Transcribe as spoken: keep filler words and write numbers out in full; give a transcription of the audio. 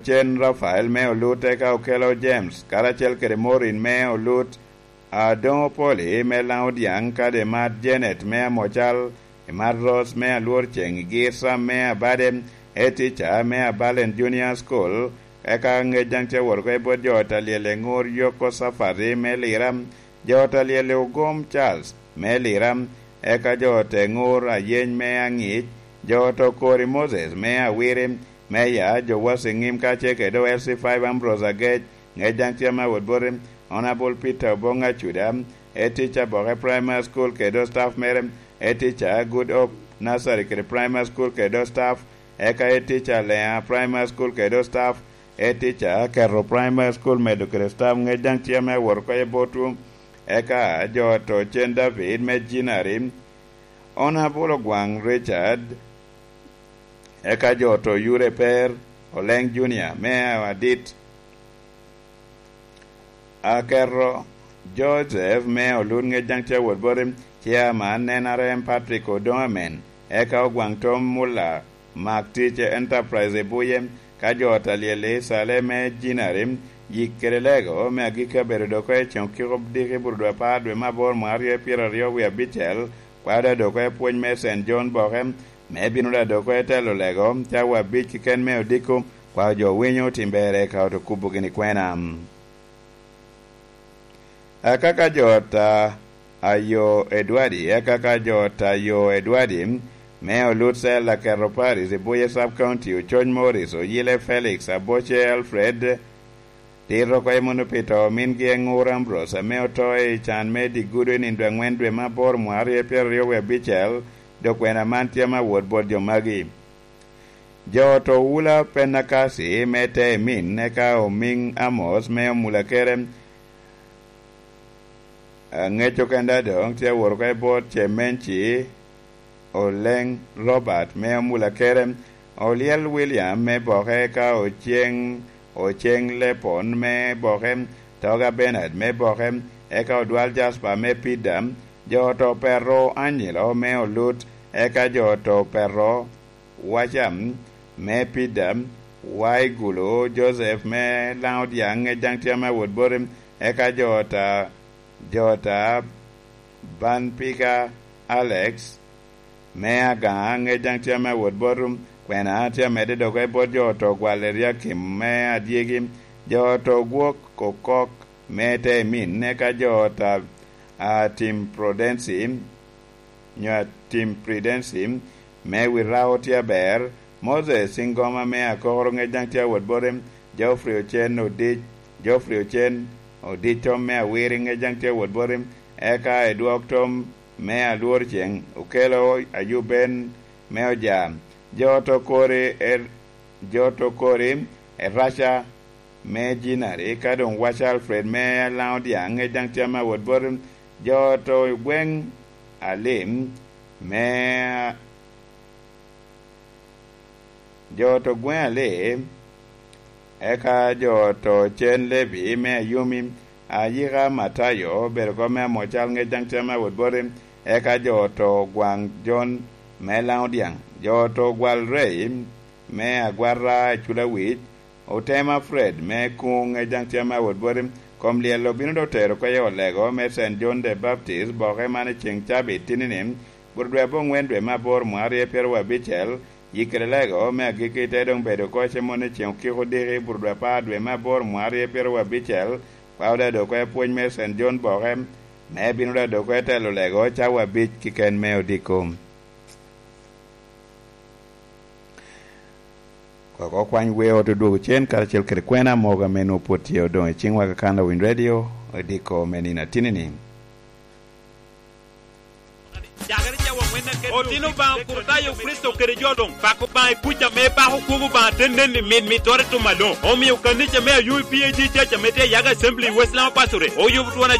cen Rafael me Olut, eka Okelo James, karacel kede Maureen me Olut, Adongo Poli me Laŋo Dyaŋ, kadi Imat Janet me Amocal, Imat Rose me Alwor Ceŋ, Igir Sam me Abade, Etica me Abalen Junior School, eka ŋec daŋ tye wot oko i bot jo ot a lyel i ŋur Yoko Safari me Lira, jo ot a lyel i Ogom Charles me Lira, eka jo ot e ŋur Ayeny me Aŋic, jo ot Okori Moses me Awiri, Meya Jowasi Ŋim kacel kede O L C five Ambrose Agec, ŋec daŋ tye ame awot boti, Honorable Peter Oboŋ Acuda, head teacher Boke Primary School kede staff mere, head teacher Good Hope Nursery kede Primary School kede staff, eka head teacher Lea Primary School kede staff, head teacher Keto Primary School medo kede staff, ŋec daŋ tye ame awot oko i botwu, eka jo ot Ocen David me Jinari, Honorable Ogwaŋ Richard, eka jo ot Oyure Per, Oleŋ Junior me Adit, Aketo Joseph me Olun, ŋec daŋ tye awot boti, Chairman N R M Patrick Odoŋ Amen, eka Ogwaŋ Tom Mulla, Mak Tic Enterprise i Buye, ka jo ot a lyel i Cale me Jinari, yik kede lego me agikki abedo dok i ceŋ okiko diki burudwa apar dwe me aboro mwaka aryo pyeraryo wie abicel, kwao da dok i pwony me Saint John Boke, me bino da dok i telo lego, cawa abic keken me odiko, kwao jo winyo tim berre ka ot okubo gini kwena. Akaka jo ot a Ayo Edwadi, akaka jo ot Ayo Edwadi, me Olut Cell Aketo Paris i Buye Sub County, Ococ Morris, Oyile Felix, Aboce Alfred, tito oko i Muno Pito, mingi Eŋur Ambrose, ame oto i can me Digudo i nindo aŋwen dwe me aboro mwaka aryo pyeraryo wie abicel, dok kwena man tye ame awot bot jo magi. Jo ot Owula Penakasi me Teemin, eka Omiŋ Amos me Omulakere, aŋeco kenda doŋ tye awot oko i bot Cemenci, Oleŋ Robert me Omulakere, Olyel William me Boke, eka Oceŋ, Oceŋ Lepon me Boke, Toga Bernard me Boke, eka Odwal Jasper me Pida, jo ot Opeto Anyilo me Olut, eka jo ot Opeto Wacam me Pida, Waigulu Joseph me Laŋo Dyaŋ, ŋec daŋ tye ame awot boti, eka jo ot a, jo ot a Banpika Alex me Agaŋa, ŋec daŋ tye ame awot boti, kwena tye amedde dok i bot jo ot Ogwal Eriakim me Adyegi, jo ot Ogwok Okok me Teemin, eka jo ot a, a Tim Prudensi, nyo Atim Pridensi, me Wirao tye aber, Moses Cingoma me Akokoro, ŋec daŋ tye awot boti, Geoffrey Ocen Odic, Geoffrey Ocen Odic Tom me Awiri, ŋec daŋ tye awot boti, eka Edwok Tom me Alwor Ceŋ, Okelo Ayub Ben me Oja, jo ot Okori, Er-, jo ot Okori, Eraca, me Jinari, ka doŋ waco Alfred me Laŋo Dyaŋ, ŋec daŋ tye ame awot boti, jo ot Ogweŋ Alim, me, jo ot Ogweŋ Alim, eka jo ot Ocen Levi me Ayumi, Ayika Matayo, obedo kop me Amocal, ŋec daŋ tye ame awot boti, eka jo ot Ogwaŋ Jon me Laŋo Dyaŋ, jo ot Ogwal Rei me Agwata i Culawic, Otema Fred me Kuŋ, ŋec daŋ tye ame awot boti, kom lyel obino dok tero oko i olego me Saint John the Baptist, Boke man i ceŋ cabit tinini, bur dwe aboŋwen dwe me aboro mwaka aryo pyeraryo abicel, yik kede lego me agikki te doŋ bedo oko i cem moni i ceŋ okiko diki, bur dwe apar dwe me aboro mwaka aryo pyeraryo abicel, kwao da dok oko i pwony me Saint John Boke, me bino da dok oko i telo lego cawa abic keken me odiko. Koko kwany wer ot odwogo cen karacel kede kwena mogo ame nwoŋo pwod tye odoŋ i ciŋwa ka kan Lawiny Radio, odiko me nino atinini. Otino Obaŋa Okurtayo Kricito kede jo luŋ, pako Obaŋa i kuc ame pako kwogo Obaŋa te nen i mit mittere tum aloŋ. Omio kanica me Ayub P A G Church ame tye i Yaga Assembly i West Lama Pasture oyubo twon